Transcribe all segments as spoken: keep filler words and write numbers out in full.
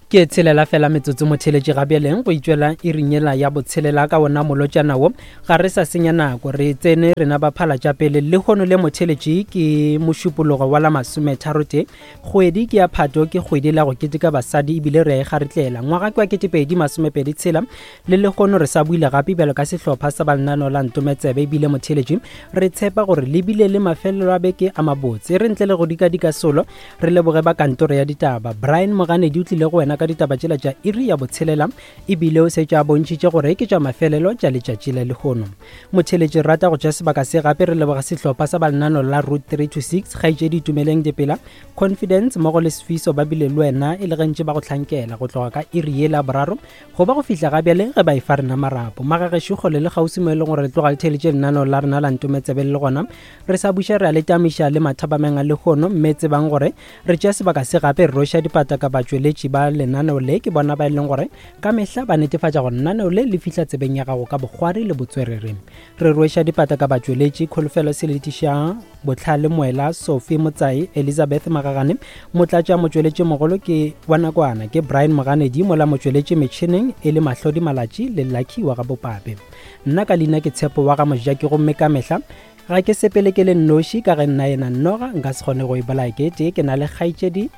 Ke tshelela fela metsotso motheletši ga bjaleng go itšwela iring yela ya botshelela ka wona molotšana wo. Ga re sa senya nako, re tsene rena ba phala tša pele. Lehono le motheletši ke mošupologo wa la masometharotee, kgwedi ke ya Phato, ke kgwedi la go keteka basadi ebile re a e garetlela. Ngwaga ke wa ketepedi masomepedi tshela le lehono re sa buile gape bjalo ka sehlopha sa balenaneo la Ntometsebe, ebile motheletši re tshepa gore le bile le mafelelo a beke a mabotse. Re ntle le go dikadika solo, re leboge ba kantoro ya ditaba. Brian Moganedi o tlile go wena ka ditaba tšela tša iri ya botshelela, ebile o setše a bontšhitše gore ke tša mafelelo tša letšatši la lehono. Motheletši rata go tša sebaka se gape re leboga sehlopha sa balenaneo la Route three to six, kgaetšedi Itumeleng Dipela, Confidence mmogo le Sfiso ba bile le wena e le gantši ba go hlankela go tloga ka iri ye la boraro go ba go fihla ga bjale ge ba e fa rena marapo. Magagešo kgole le kgauswi mo e leng gore re tloga le theletše lenaneo la rena la Ntometsebe le gona re sa buša re a le tamiša le mathabameng a lehono, mme tsebang gore re tšea sebaka se gape re roša dipata ka batšweletši ba lenaneo le, ke bona ba e leng gore ka mehla ba netefatša gore lenaneo le le fihla tsebeng ya gago ka bokgwari le botswerere. Re rweša dipata ka batšweletši Kholofelo Seletiša, Botlhale Moela, Sophie Motsai, Elizabeth Magagane, motlatša motšweletši mogolo ke wa nakwana ke Brian Moganedi, mola motšweletši metšhineng e le Mahlodi Malatši le Lucky wa ga Bopape. Nna ka leina ke Tshepo wa ga Mojaki, gomme ka mehla ga ke sepele ke le nnoši ka ge nna yena nnoga nka se kgone go e bolaya ke tee, ke na le kgaetšedi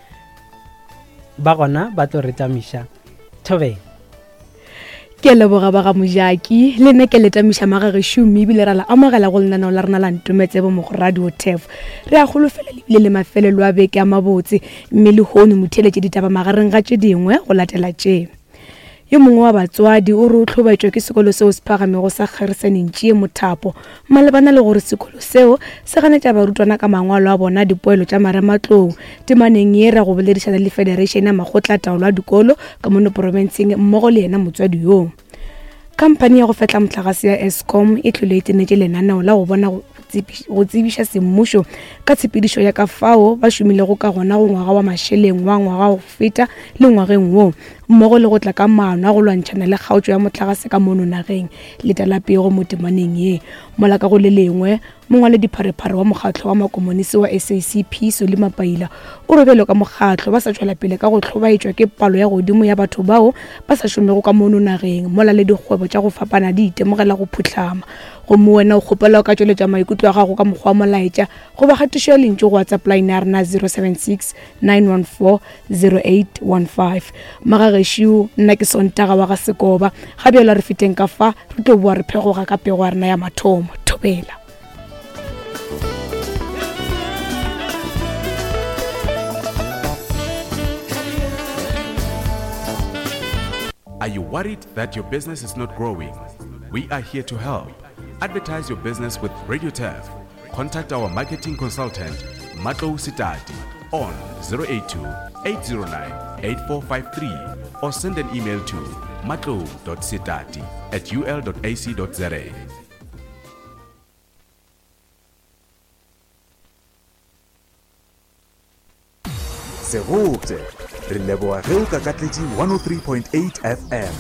ba gona ba tlo re tamiša. Thobeng. Ke leboga ba ga Mojaki, le nna ke le tamiša magagešo mme ebile ra la amogela go lenaneo la rena la Ntometsebe mo go Radio Turf. Re a holofela lebile le mafelelo a beke a mabotse, mme lehono motheletše ditaba magareng ga tše dingwe go latela tše. Yo mongwe wa batswadi o re o hlobaetšwa ke sekolo seo se phagamego sa Kgerisen Ntšie Mothapo malebana le gore sekolo seo se ganetša barutwana ka mangwalo a bona dipoelo tša marematlou. Temaneng ye ra go boledišana le Federation ya Makgotlataolo a Dikolo ka mono porofenseng mmogo le yena motswadi yoo. Khamphani ya go fetla motlakase ya Eskom e tlhole e tsenetše lenaneo la go bona go tsebiša semmušo ka tshepedišo ya ka fao ba šomilego ka gona go ngwaga wa mašeleng wa ngwaga go feta le ngwageng wo, mmogo le go tla ka maano a go lwantšhana le kgaotšo ya motlakase ka mono nageng. Letela pego mo temaneng ye. Mola ka go le lengwe, mongwaledipharephare wa mokgatlo wa makomonisi wa S A C P Solly Mapaila o re bjalo ka mokgatlo ba sa tšwela pele ka go hlobaetšwa ke palo ya godimo ya batho bao ba sa šomego ka mono nageng, mola le dikgwebo tša go fapana di itemogela go phuhlama. Gomme wena o kgopela o ka tšweletša maikutlo a gago ka mokgwa wa molaetša goba kgatišo ya lentšu go WhatsApp line ya rena zero seven six nine one four zero eight one five. Magagešo, nna ke Sontaga wa ga Sekoba. Ga bjalo re feteng ka fa, re tlo boa re phegoga ka pego ya rena ya mathomo. Thobela. Are you worried that your business is not growing? We are here to help. Advertise your business with Radio Turf. Contact our marketing consultant, Matlou Sitati, on zero eight two, eight zero nine, eight four five three or send an email to matlou dot sitati at u l dot a c dot z a. Segote, re leboga ge o kakatletše one oh three point eight F M.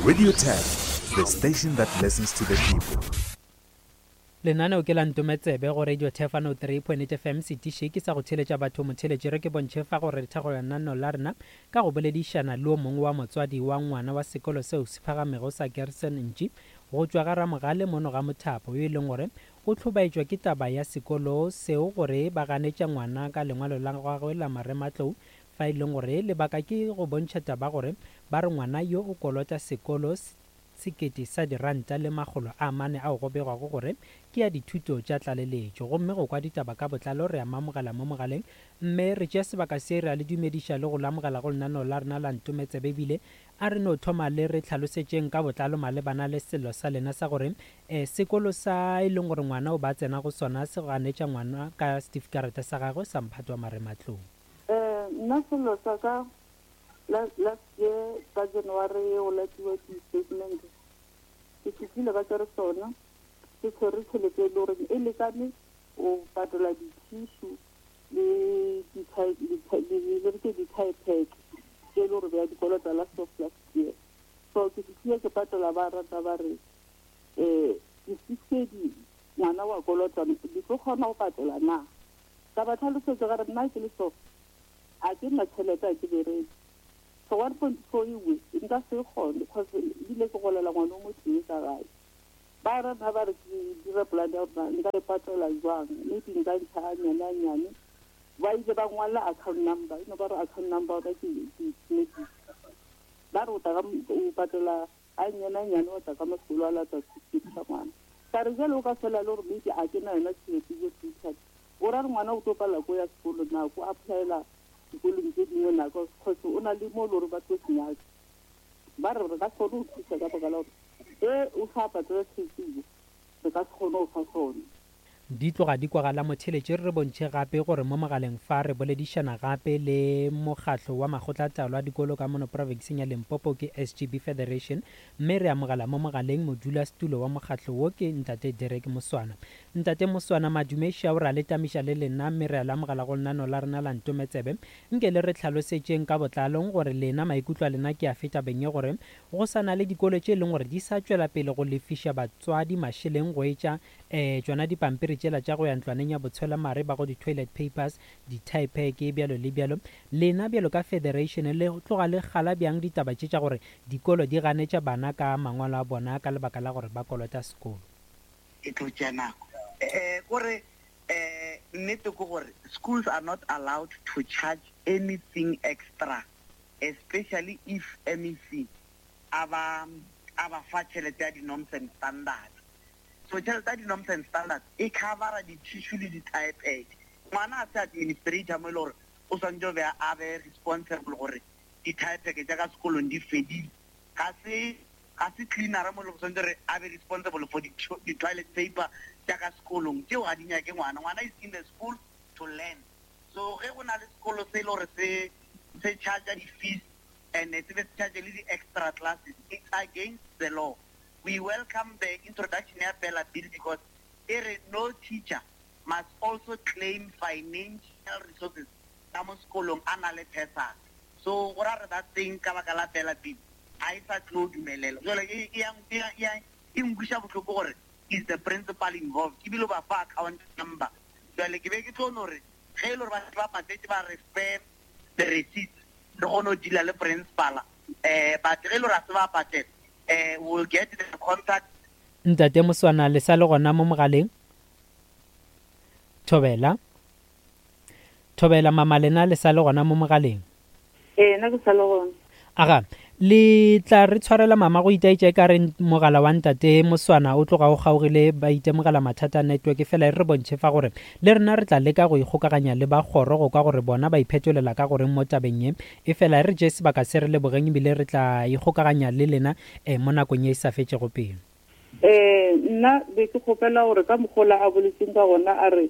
Radio Turf, the station that listens to the people. Lenaneo ke la Ntometsebe go Radio Turf one oh three point eight F M. Setiši ke sa go theletša batho motheletši. Re ke bontšhe fa gore re thekgo lenaneo la rena ka go boledišana le o mongwe wa motswadi wa ngwana wa sekolo seo se phagamego sa Gerson Ntši go tšwa ga Ramogale mono ga Mothapo, yo e leng gore o hlobaetšwa ke taba ya sekolo seo gore ba ganetša ngwana ka lengwalo la gagwe la marematlou, fa e leng gore lebaka ke go bontšha taba gore ba re ngwana yo o kolota sekolo sekete sa diranta le makgolo a mane ao go begwago gore ke ya dithuto tša tlaleletšo. Gomme go kwa ditaba ka botlalo re a mamogela mo mogaleng, mme re tšea sebaka se re a le dumediša le go lamogela go lenaneo la rena la Ntometsebe. Ebile a re no thoma le re tlhalosetšeng ka botlalo malebana le sello sa lena sa gore eh, sekolo sa e leng gore ngwana o ba tsena go sona se ganetša ngwana ka setifikarata sa gagwe sa mphato wa marematlou. Eh, nna sello sa ka last year ka January o latiwa di-statement, ke fihlile ka tšere sona ke tshwere tšhelete e le goreng e lekane o patela di-tissue le di-tie pack tše e le gore bja dikolota last of last year. So ke fihlile ke patela ba rata ba re um di-six ngwana wa kolota di tlo kgona go patela na. Ka ba tlhalosetša ka re nna ke le so a ke nna tšhelete a ke bereke. So one point four ewe nka se kgone because ebile ke golela ngwana o motee ka gae. Ba re nna ba re ke dire plan ya gore nka e patela jwang, maybe nka ntšha a nyane a nyane. Ba ile ba ngwala account number, eno ba re account number ona ke ke ba re o tla ka o patela a nyane a nyane, wa tla ka masekolo a lata certificate sa ngwana. Ka re jale o ka fela le gore maybe a ke na yona tšhelete jo future, o ra re ngwana o tlo palela ko ya sekolo na ko applyela dikolong tse dingwe na, cause o na le mo le gore ba tlo senyaka. Ba re re ka se kgone go thusa ka baka la gore e o sa patela tšhelete eo, re ka se kgone go fa sone. Di tloga di kwagala motheletše. Re bontšhe gape gore mo mogaleng fa re boledišana gape le mokgatlo wa makgotlataolo a dikolo ka mono provinseng ya Limpopo ke S G B Federation, mme re amogela mo mogaleng modulasetulo wa mokgatlo wo ke Ntate Derek Moswana. Ntate Moswana, madume šao, ra le tamiša le lena mme re a le amogela go lenaneo la rena la Ntometsebe. Nke le re tlhalosetšeng ka botlalong gore lena maikutlo a lena ke a feta beng ye gore go sa na le dikolo tše e leng gore di sa tšwela pele go lefiša batswadi mašeleng go etša um tšona dipampiri tšela tša go ya ntlwaneng ya botshwelamare ba go di-toilet papers, di-tie pack bjalo le bjalo. Lena bjalo ka federation le tloga le gala bjang ditaba tše tša gore dikolo di ganetša bana ka mangwalo a bona ka lebaka la gore ba kolota sekolo? E tlo tšea nako. Eh, kore, eh, nnete ke gore schools are not allowed to charge anything extra, especially if M E C a ba, a ba fa tšhelete ya di-norms and standards. So tšhelete ya di-norms and standards e covera di-tissue le di-tie pack. Ngwana a se administrator mo e le gore o swanetše go be a be responsible gore di-tie pack tša ka sekolong di fedile. Ga se, ga se cleaner mo e le gore swanetše gore a be responsible for di-toilet paper tša ka sekolong. Tšeo ga di nyake ngwana. Ngwana is in the school to learn. So ge go na le sekolo se e le gore se, se charge di-fees and se be se charge le di-extra classes, it's against the law. We welcome the introduction ya BELA Bill because e re no teacher must also claim financial resources ka mo sekolong a na le bursary. So go ra re that thing ka baka la BELA Bill ga e sa tlo dumelela. Jwale e, e ya, e ya, e ya, e nkweša bohloko gore is the principal involved, ebile ba fa account number. Jwale ke be ke tlo no re ge e le gore ba ba patetse ba re fe the receipt, re kgone go deala le principal. Eh, but ge e le gore a se ba patela, eh, we'll get the contact. Ntate Moswana, le sa le gona mo mogaleng? Thobela. Thobela mama, lena le sa le gona mo mogaleng? Ee, nna ke sa le gona. Aga, le tla re tshwarela mama go itaetša e ka re mogala wa Ntate Moswana o tloga o kgaogile, ba itemogela mathata a network, fela e re bontšhe fa gore le rena re tla leka go ikgokaganya le ba kgoro go kwa gore bona ba iphetolela ka goreng mo tabeng ye. E fela e re tšee sebaka se re lebogeng ebile re tla ikgokaganya le lena, eh, mo nakong ye e sa fetšego pelo. Eh, nna be ke kgopela gore ka mokgola a boletseng ka gona a re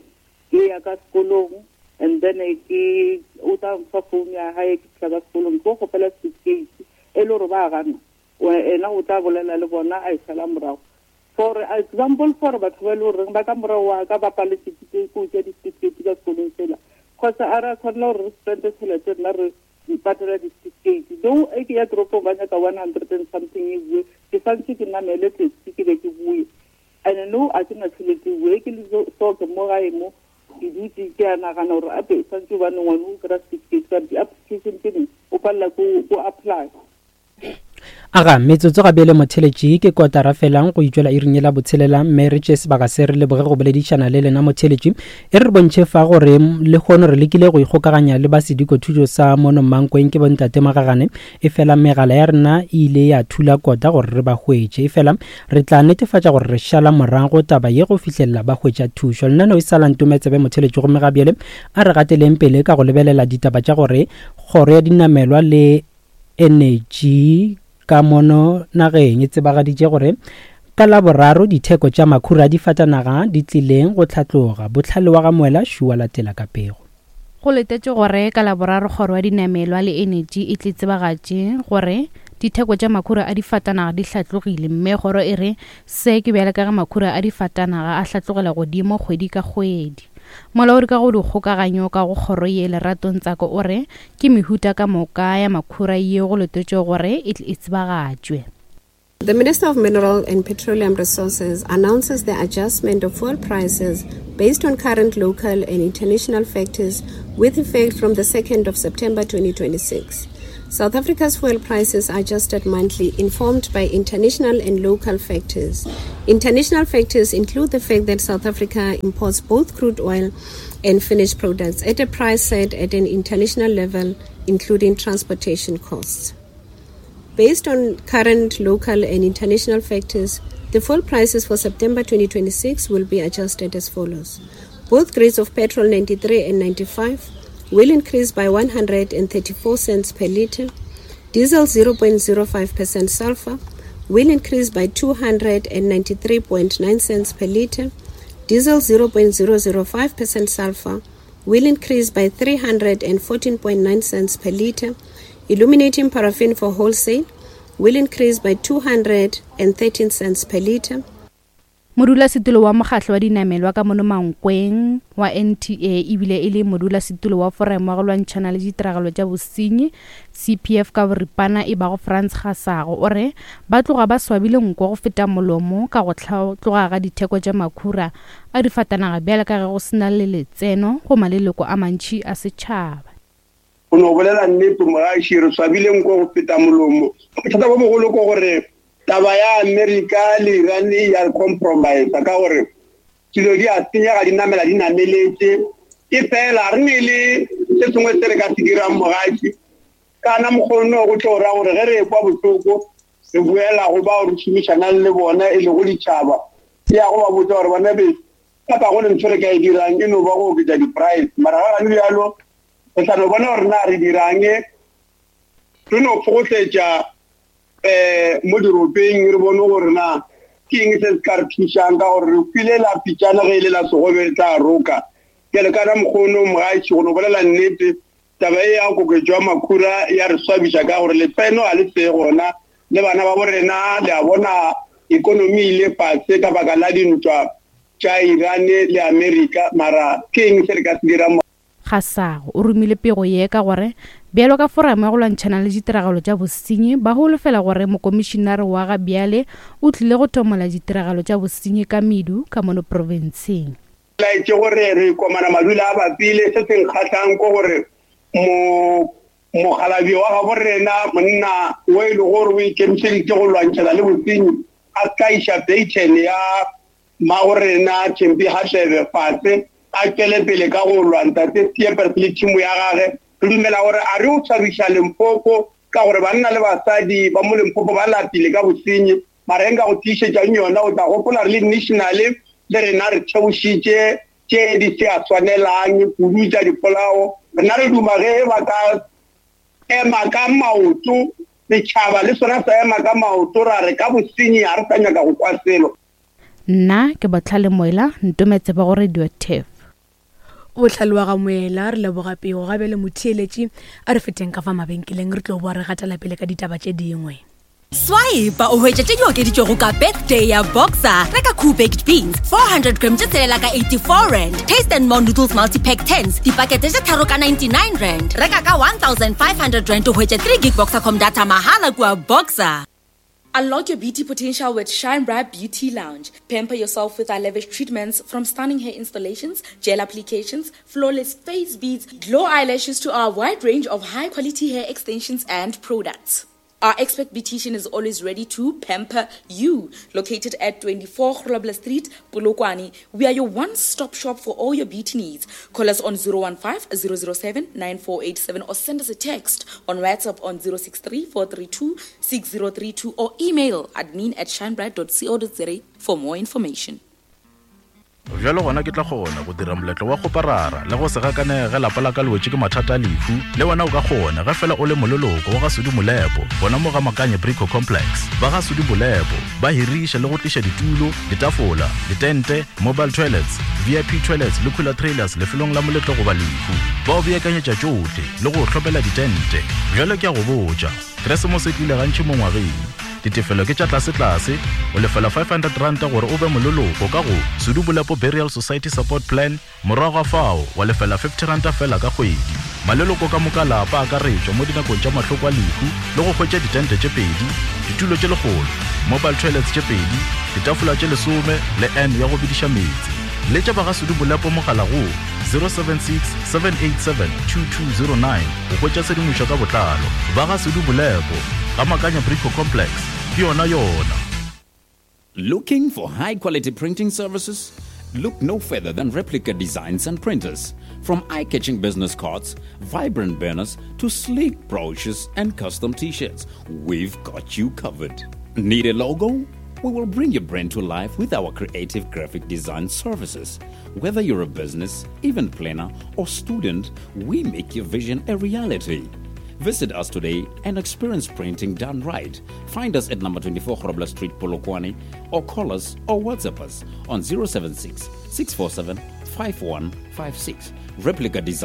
ke ya ka sekolong, and then ke o tla mfa phone ya hae ke fihla ka sekolong, ke kgopela certificate e le gore ba gana, ena o tla bolela le bona a e sala morago. For example, for batho ba e le goreng ba ka morago wa ka ba paletse ke go tšea di-certificate ka sekolong sela, cause a re a tshwanela gore re spende tšhelete rena re patela di-certificate. Though e ke ya toropong ba nyaka one hundred and something e bue, ke santse ke namele taxi ke be ke bue. And no, a ke na tšhelete e bue, ke le so ke mo gae mo, ke dutse ke a nagana gore ape santse hobane ngwana o kry-a certificate ka di-application tse dingwe o palela ko go apply. Aga, metsotso ga bjale motheletši ke kotara felang go itšwela iring ye la botshelela, mme re tšee sebaka se re leboge go boledišana le lena motheletši. E re bontšhe fa gore lehono re lekile go ikgokaganya le ba sedikothuto sa mono Mankweng ke bontate Magagane, e fela megala ya rena e ile ya thula kota gore re ba hwetše. E fela re tla netefatša gore re šala morago taba ye go fihlelela ba hwetša thušo. Lenaneo e sa la Ntometsebe motheletši, gomme ga bjale a re gateleng pele ka go lebelela ditaba tša gore kgoro ya dinamelwa le energy ka mono nageng e tsebagaditše gore ka Laboraro ditheko tša makhura a difatanaga di tlileng go tlhatloga. Bohlale wa ga Moela Šua latela ka pego. Go letetše gore ka Laboraro kgoro ya dinamelwa le energy e tle tsebagatše gore ditheko tša makhura a difatanaga di hlatlogile, mme kgoro e re se ke bjale ka ge makhura a difatanaga a hlatlogela godimo kgwedi ka kgwedi. Molaodi ka go dikgokaganyo ka go kgoro ye Lerato Ntsako o re ke mehuta ka moka ya makhura ye go letetšwe gore e tle e tsebagatšwe. The Minister of Mineral and Petroleum Resources announces the adjustment of fuel prices based on current local and international factors with effect from the second of September twenty twenty-six. South Africa's fuel prices are adjusted monthly, informed by international and local factors. International factors include the fact that South Africa imports both crude oil and finished products at a price set at an international level, including transportation costs. Based on current local and international factors, the fuel prices for September twenty twenty-six will be adjusted as follows. Both grades of petrol ninety-three and ninety-five will increase by one hundred and thirty-four cents per litre. Diesel zero point zero five percent sulfur will increase by two hundred and ninety-three point nine cents per litre. Diesel zero point zero zero five percent sulfur will increase by three hundred and fourteen point nine cents per litre. Illuminating paraffin for wholesale will increase by two hundred and thirteen cents per litre. Modulasetulo wa mokgatlo wa dinamelwa ka mono Mankweng wa N T A ebile e le modulasetulo wa foramo wa go lwantšhana le ditiragalo tša bosenyi C P F ka boripana e bago Frans Gasago o re ba tloga ba swabile nko go feta molomo ka go tloga ga ditheko tša makhura a difatanaga bjale ka ge go sena le letseno go maleloko a mantši a setšhaba. O no bolela nnete mogaši, re swabile nko go feta molomo. Bothata bo bogolo ke gore taba ya Amerika le Iran ya compromise ka gore dilo di a senyega di namela di nameletse. E fela re ne le se sengwe se re ka se dirang mogaši, kana mokgono go tlo ra gore ge re ekwa bohloko re boela go bao re šomišanang le bona e lego ditšhaba, ya go ba botsa gore bana be kapa go le ntho re ka e dirang e no ba go oketša di-price. Mara ga gane bjalo re tla no bona gore na re dirang, re no fokotletša eh mo diropeng re bone gore na ke eng se se ka re thušang ka gore re file la pitšana ge e le la segobe re tla roka. Bjale ka na mokgono mogaši go no bolela nnete, taba e ya koketšo ya makhura ya re swabiša ka gore letseno ga le see gona le bana ba bo rena le a bona ikonomi e ile fase ka baka la dintwa tša Iran le Amerika. Mara ke eng se re ka se dirang? Gasago o romile pego ye ka gore bjalo ka foramo ya go lwantšhana le ditiragalo tša bosenyi ba holofela gore mokomišinare wa ga bjale o tlile go tomola ditiragalo tša bosenyi ka medu ka mono profenseng. Laetše gore re komana madula a bapile. Se se nkgahlang ke gore mo mokgalabje wa gabo rena monna o e le gore o ikemišeditše go lwantšhana le bosenyi a ka iša baton ya mmago rena Thembi Hadebe fase, a tšwele pele ka go lwa ntate Scheepers le tšhimo ya gage. Re dumela gore a re o tshwabiša Limpopo ka gore banna le basadi ba mo Limpopo ba lapile ka bosenyi, mara e nka go tiišetšang yona o tla gopola re le national le rena re theošitše tše di se a swanelang kudu tša dipolao. Rena re duma ge ba ka ema ka maoto, setšhaba le sona sa ema ka maoto, ra re ka bosenyi ga re sa nyaka go kwa selo. Nna ke Botlhale Moela, ntometse ba go Radio T E F. Botlhale wa ga Moela, re leboga pego gabe le motheeletši. A re feteng ka fa mabenkeleng re tlo boa re gatela pele ka ditaba tše dingwe. Swipe o hwetša tše di okeditšwego ka birthday ya Boxer. Reka Cool Baked Beans four hundred gram tše tshelela ka eighty-four rand. Taste and More Noodles Multipack tens dipakete tše tharo ka ninety-nine rand. Reka ka one thousand five hundred rand o hwetše three gig Boxercom data mahala kua Boxer. Unlock your beauty potential with Shine Bright Beauty Lounge. Pamper yourself with our lavish treatments, from stunning hair installations, gel applications, flawless face beads, glow eyelashes to our wide range of high-quality hair extensions and products. Our expert beautician is always ready to pamper you. Located at twenty-four Grobler Street, Polokwane, we are your one-stop shop for all your beauty needs. Call us on zero one five, zero zero seven, nine four eight seven or send us a text on WhatsApp on zero six three, four three two, six zero three two or email admin at shinebright dot co dot za for more information. Bjalo gona ke tla kgona go dira moletlo wa go parara le go se gakanege ge lapa la ka le wetše ke mathata a lehu. Le wena o ka kgona ge fela o le moleloko wa ga Sudi Molepo gona mo ga Makanye Brico Complex. Ba ga Sudi Molepo ba hiriša le go tliša ditulo, ditafola, ditente, mobile toilets, V I P toilets le cooler trailers lefelong la moletlo goba lehu. Ba o beakanyetša tšohle le go hlopela ditente. Bjalo ke a go botša, Keresemose e tlile gantši mo ngwageng. Ditefelo ke tša tlase-tlase, o lefela five hundred rand gore o be moleloko ka go Sudi Molepo Burial Society Support Plan, morago ga fao wa lefela fifty rand fela ka kgwedi. Maleloko ka moka lapa a akaretšwa mo dinakong tša mahloko a lehu le go hwetša ditente tše pedi, ditulo tše lekgolo, mobile toilets tše pedi, ditafola tše lesome le N ya go bidiša meetse. Letša ba ga Sudu Bolepo mogala go zero seven six seven eight seven two two zero nine go hwetša tshedimošo ka botlalo. Ba ga Sudu Bolepo, ga Makanya Brico Complex, ke yona yona. Looking for high-quality printing services? Look no further than Replica Designs and Printers. From eye-catching business cards, vibrant banners, to sleek brochures and custom t-shirts, we've got you covered. Need a logo? We will bring your brand to life with our creative graphic design services. Whether you're a business, event planner, or student, we make your vision a reality. Visit us today and experience printing done right. Find us at number twenty-four Grobler Street, Polokwane, or call us or WhatsApp us on zero seven six, six four seven, five one five six. Replica Design.